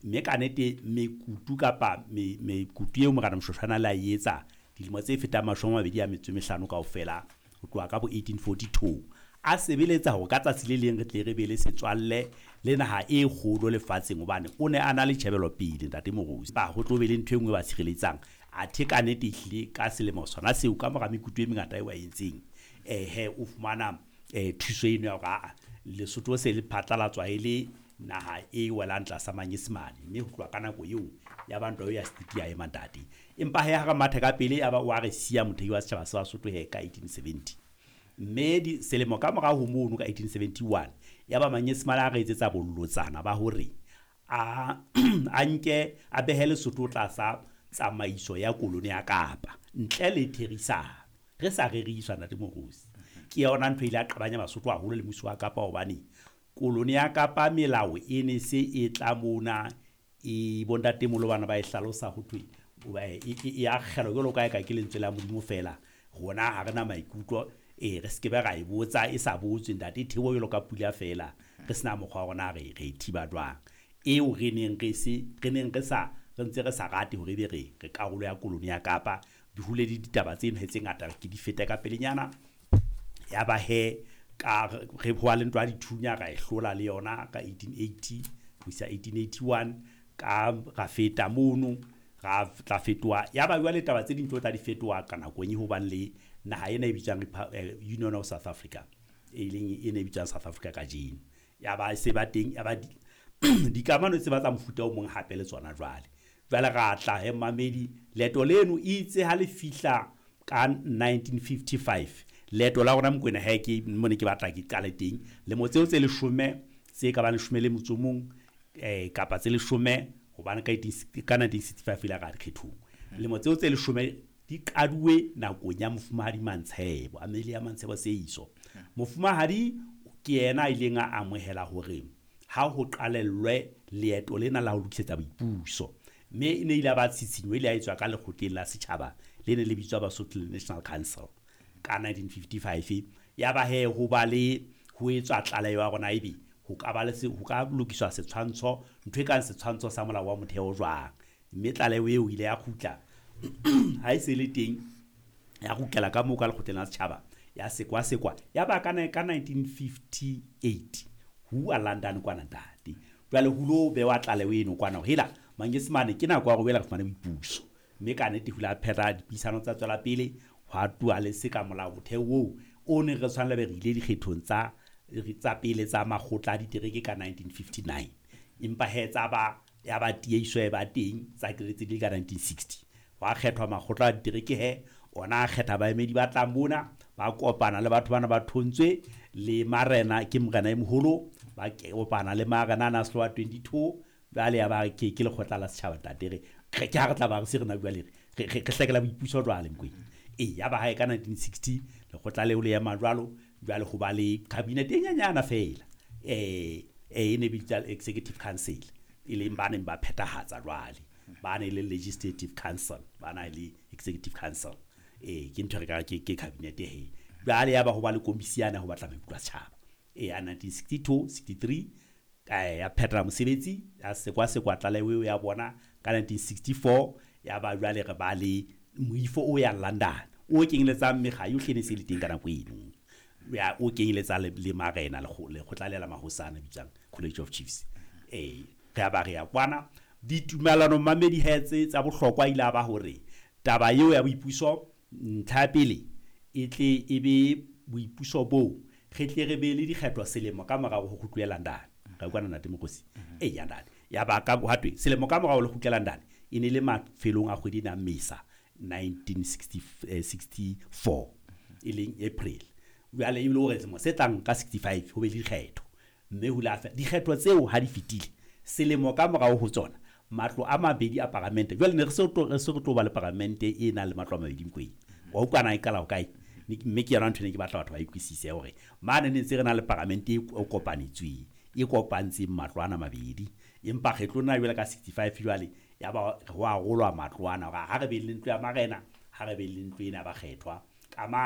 Mme ka nete mekutu kapa mekutu eo Morena Moshoeshoe a na le a e etsa dilemo tse fetang 25 kaofela, ho tloha ka bo 1842, a sebeletsa hore ka tsatsi le leng re tle re be le setswalle le naha e kgolo lefatsheng, hobane o ne a na le tjhebelopele ntate Moruti. Ba ho tlo be le ntho e nngwe e ba tshireletsang. Athe ka nete ehlile ka selemo sona seo, ka mora mekutu e mengata eo a entseng, he o fumana thuso eno ya hore aa Lesotho se le phatlalatswa e le naha e welang tlasa Manyesemane. Mme ho tloha ka nako eo ya ba ntwa eo ya Setiti ya ema ntate. Empa he ha re mathe ka pele, ya ba wa re siya mothehi wa setjhaba sa Basotho he ka 1870. Mme selemo ka morao ho mono ka 1871, ya ba Manyesemane a re etsetsa bolotsana ba hore a a nke a behe Lesotho tlasa tsamaiso ya kolone ya Kapa ntle le therisano. Re sa reriswa ntate Moruti. Ke yona ntho e ile ya qabanya Basotho haholo le mmuso wa Kapa, hobane kolone ya Kapa melao e ne se e tla mona e bontatemoholo bana ba e hlalosa ho thwe e akgelwa jwalo ka eka ke lentswe la Modimo fela. Rona ha re na maikutlo, re se ke be ra e botsa e sa botswe ntate, theoha jwalo ka pula fela, re sena mokgwa wa rona re e thiba jwang. Eo re neng re se re neng re sa re ntse re sa rate hore ebe re karolo ya kolone ya Kapa. Di hole le ditaba tseno he tse ngata ke di fete ka pelenyana. Ya ba he ka re ho le ntwa ya dithunya ra e hlola le yona ka 1880 ho isa 1881, ka ra feta mono, ra tla fetoha. Ya ba jwale taba tse ding tlo tla di fetoha ka nakong e hobane le naha ena e bitswang Union of South Africa, e leng e ne e bitswang South Africa kajeno. Ya ba se ba teng, ya ba dikamano tse ba tsa mofuta o mong hape le tsona jwale. Jwale ra tla he mamedi, leeto leno itse ha le fihla ka 1955, leeto la rona Mokwena he ke mone ke batla ke qale teng. Lemo tseo tse leshome, tse ka bang 11 kapa tse 10, hobane ka 1965 ile ra dikgethong. Lemo tseo tse 10 di qaduwe nakong ya Mofumahadi Mantshebo, Amelia Mantshebo Seiso. Mofumahadi ke yena a ileng a amohela hore ha ho qalellwe leeto lena la ho lokisetsa boipuso. Mme e ne ile ba tshitshinyo ile ya etswa ka lekgotleng la setjhaba le ne le bitswa Basotho National Council ka 1955. Ya ba he ho ba le ho etswa tlaleho ya rona ebe ho ka ba le ho ka lokiswa setshwantsho, ntho e kang setshwantsho sa molao wa motheo jwang. Mme tlaleho eo ile ya kgutla ha e se le teng, ya kgutlela ka moo ka lekgotleng la setjhaba, ya sekwasekwa. Ya ba ka 1958 ho London kwana ntate. Jwale ho lo bewa tlaleho eno kwana hore hela Manyesemane ke nako ya hore boela re fumane boipuso. Mme ka nete ho ile ha phetha dipuisano tsa tswela pele, hwa tuwa le se ka molao motheo oo o neng re tshwanela be re ile dikgethong tsa pele tsa makgotla a ditereke ka 1959. Empa he tsa ba ya ba tieiso e ba teng tsa kretse di ka 1960. Hwa kgethwa makgotla a ditereke he, ona a kgetha baemedi ba tlang mona, ba kopana le batho bana ba thontswe le marena, ke morena e moholo, ba kopana le marena ana a Slowa 22. Jwale ya ba ke lekgotla la setjhaba ntate, re ke ha re tla ba re se re na bua le re hlekela boipuso jwale Mokwena. E ya ba hae ka 1960 lekgotla leo le ema jwalo, jwale ho ba le cabinet e nyenyana fela, e ne bitswa Executive Council, e leng ba neng ba phethahatsa jwale, ba ne le Legislative Council, ba na le Executive Council. Ke ntho re ka ke cabinet he. Jwale ya ba ho ba le komisi yana ho batla maikutlo a setjhaba. Ya 1962 63 ya phethela mosebetsi, ya sekwasekwa tlaleho eo ya bona ka 1964. Ya ba jwale re ba le moifo o yang London o kenyeletsang mekga yohle ne se le teng ka nako eno, ya o kenyeletsang le marena, lekgotla le la mahosana bitswang College of Chiefs. Re ba re ya kwana ditumellano mamedi he tse tsa bohlokwa ile ba hore taba eo ya boipuso ntlha ya pele e tle e be boipuso boo re tle re be le dikgetho selemo ka morao ho kgutluwe London. Ra utlwana ntate Mokgosi? Ya ntate. Ya ba ka ha thwe selemo ka morao le kgutlela London e ne le mafelong a kgwedi ena Mesa 1964 e leng April. Jwale e le hore selemo se tlang ka 65 ho be le dikgetho. Mme ho la dikgetho tseo ha di fetile selemo ka morao ho tsona matlo a mabedi a paramente. Jwale ne re se re tlo ba le paramente e nang le matlo a mabedi Mokwena. Wa utlwana e qala ho kae? Mme ke yona ntho e ne ke batla batho ba utlwisise hore mane ne ntse re na le paramente e kopanetsweng, e kopantseng matlo ana mabedi. Empa kgetlo lena jwale ka 65 jwale ya ba ho arolwa matlo ana hore ha re be le ntlo ya marena, ha re be le ntlo ena ya bakgethwa. Ka